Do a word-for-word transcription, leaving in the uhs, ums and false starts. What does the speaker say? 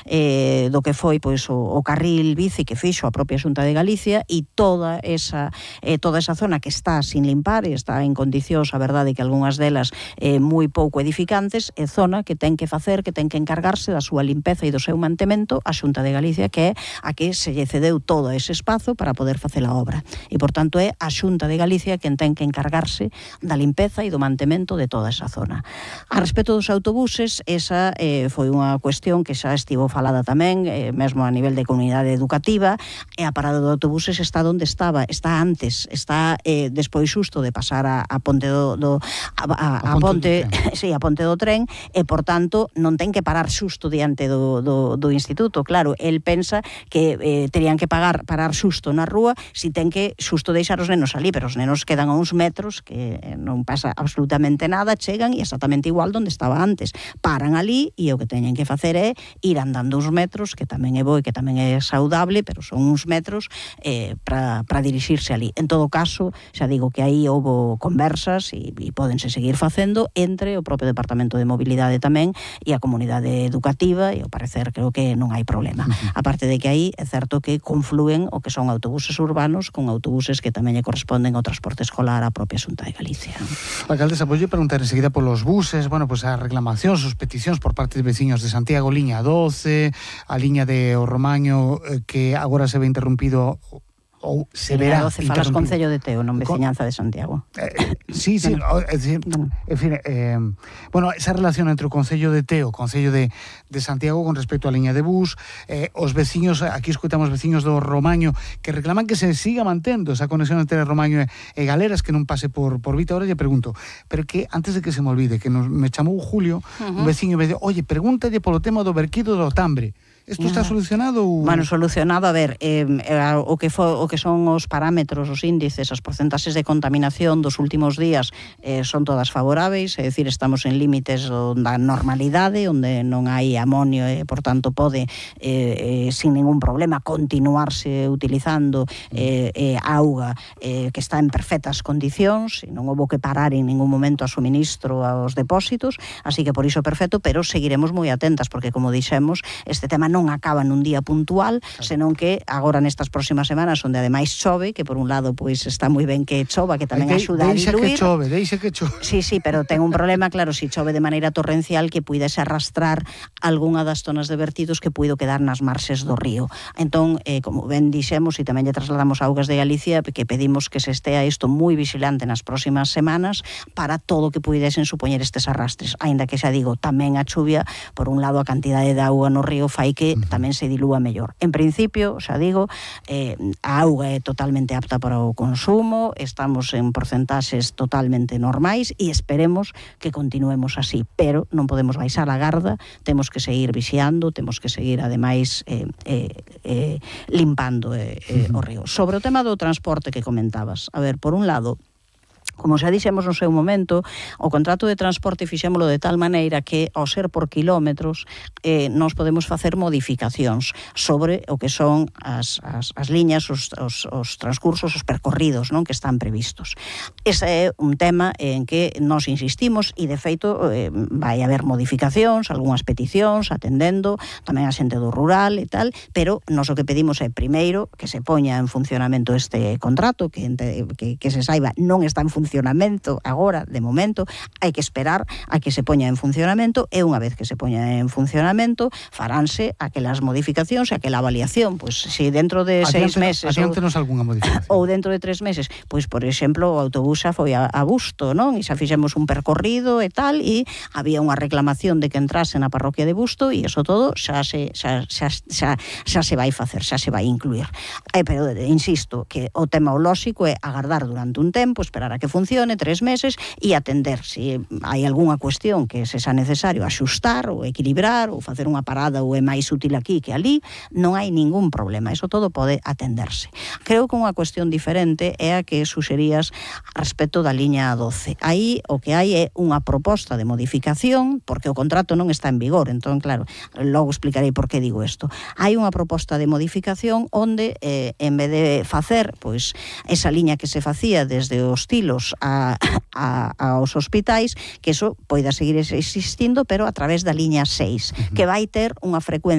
eh, do que foi pois o, o carril bici que fixo a propia Xunta de Galicia, e toda esa eh, toda esa zona que está sin limpar e está en condicións, a verdade que algunhas delas eh, moi pouco edificantes, é zona que ten que facer, que ten que encargarse da súa limpeza e do seu mantemento a Xunta de Galicia, que é a que se lle cedeu todo ese espazo para poder facer a obra. E, por tanto, é a Xunta de Galicia quen ten que encargarse da limpeza e do mantemento de toda esa zona. A respecto dos autobuses, esa eh, foi unha cuestión que xa estivo falada tamén, eh, mesmo a nivel de comunidade educativa, e a parada de autobuses está onde estaba, está antes, está eh, despois xusto de pasar a, a ponte do, do a, a, a, a ponte, sí, a ponte do tren, e por tanto non ten que parar xusto diante do, do, do instituto. Claro, el pensa que eh, terían que pagar parar xusto na rúa, si ten que xusto deixar os nenos ali, pero os nenos quedan a uns metros que eh, non pasa absolutamente nada, chegan e exactamente igual donde estaba antes, paran ali e o que teñen que facer é ir andando uns metros, que tamén é bo e que tamén é saudable, pero son uns metros eh, para dirixirse ali. En todo caso, xa digo que aí houbo conversas e, e pódense seguir facendo entre o propio Departamento de Mobilidade tamén e a comunidade educativa, e ao parecer creo que non hai problema. Uh-huh. Aparte de que aí é certo que conflúen o que son autobuses urbanos con autobuses que tamén lle corresponden ao transporte escolar á propia Xunta de Galicia. Alcaldesa, voulle preguntar enseguida polos buses, bueno, pues as reclamacións, as peticións por parte de veciños de Santiago, liña doce, a liña de O Romaño, eh, que agora se ve interrumpido ou se verá doce falas Concello de Teo, non veciñanza de Santiago. Eh, sí, sí, no, é dicir, no. En fin, eh, bueno, esa relación entre o Concello de Teo, o Concello de, de Santiago con respecto á liña de bus, eh, os veciños, aquí escoitamos veciños do Romaño que reclaman que se siga mantendo esa conexión entre Romaño e, e Galeras, que non pase por, por Vita. Ahora lle pregunto, pero que antes de que se me olvide, que nos, me chamou Julio, uh-huh. un veciño me dice, oye, pregúntalle polo tema do verquido do Tambre. Isto está solucionado? Ou... Bueno, solucionado, a ver, eh, o que fo, o que son os parámetros, os índices, as porcentaxes de contaminación dos últimos días eh, son todas favoráveis, é dicir, estamos en límites da normalidade, onde non hai amonio e, por tanto, pode eh, eh, sin ningún problema continuarse utilizando eh, eh, auga eh, que está en perfectas condicións, e non houbo que parar en ningún momento a suministro aos depósitos, así que por iso perfecto, pero seguiremos moi atentas, porque, como dixemos, este tema non acaba nun día puntual, senón que agora nestas próximas semanas, onde ademais chove, que por un lado pois está moi ben que chova, que tamén de, axuda a diluir. Deixa que chove, deixa que chove. Sí, sí, pero ten un problema, claro, si chove de maneira torrencial, que puidese arrastrar algunha das zonas de vertidos que puido quedar nas marxes do río. Entón, eh, como ben dixemos, e tamén lle trasladamos a Augas de Galicia, que pedimos que se estea isto moi vigilante nas próximas semanas para todo o que puidesen supoñer estes arrastres. Aínda que xa digo, tamén a chuvia, por un lado a cantidade de auga no río fai que que tamén se dilúa mellor. En principio, xa digo, eh, a auga é totalmente apta para o consumo, estamos en porcentaxes totalmente normais e esperemos que continuemos así, pero non podemos baixar a garda, temos que seguir vixiando, temos que seguir, ademais, eh, eh, eh, limpando eh, eh, o río. Sobre o tema do transporte que comentabas, a ver, por un lado, como xa dixemos no seu momento, o contrato de transporte fixémolo de tal maneira que, ao ser por kilómetros, eh, nós podemos facer modificacións sobre o que son as, as, as liñas, os, os, os transcursos, os percorridos, non, que están previstos. Ese é un tema en que nós insistimos e, de feito, eh, vai haber modificacións, algunhas peticións, atendendo tamén a xente do rural e tal, pero nós o que pedimos é, primeiro, que se poña en funcionamento este contrato, que, que, que se saiba non está en funcionamento funcionamento agora, de momento, hai que esperar a que se poña en funcionamento, e unha vez que se poña en funcionamento faránse aquelas modificacións e aquela avaliación, pois se dentro de seis meses adiántenos algunha modificación ou dentro de tres meses, pois por exemplo o autobús xa foi a, a Busto, non? E xa fixemos un percorrido e tal, e había unha reclamación de que entrase na parroquia de Busto, e iso todo xa se xa, xa, xa, xa se vai facer, xa se vai incluir. Eh, pero insisto que o tema lóxico é agardar durante un tempo, esperar a que funcione tres meses e atender se hai algunha cuestión que se xa necesario axustar ou equilibrar ou facer unha parada ou é máis útil aquí que ali, non hai ningún problema, eso todo pode atenderse. Creo que unha cuestión diferente é a que suxerías respecto da liña doce. Aí o que hai é unha proposta de modificación, porque o contrato non está en vigor, entón claro, logo explicarei por que digo isto. Hai unha proposta de modificación onde eh, en vez de facer pois esa liña que se facía desde os Tilos A, a, aos hospitais, que eso poida seguir existindo, pero a través da liña seis, uh-huh. que vai ter unha frecuencia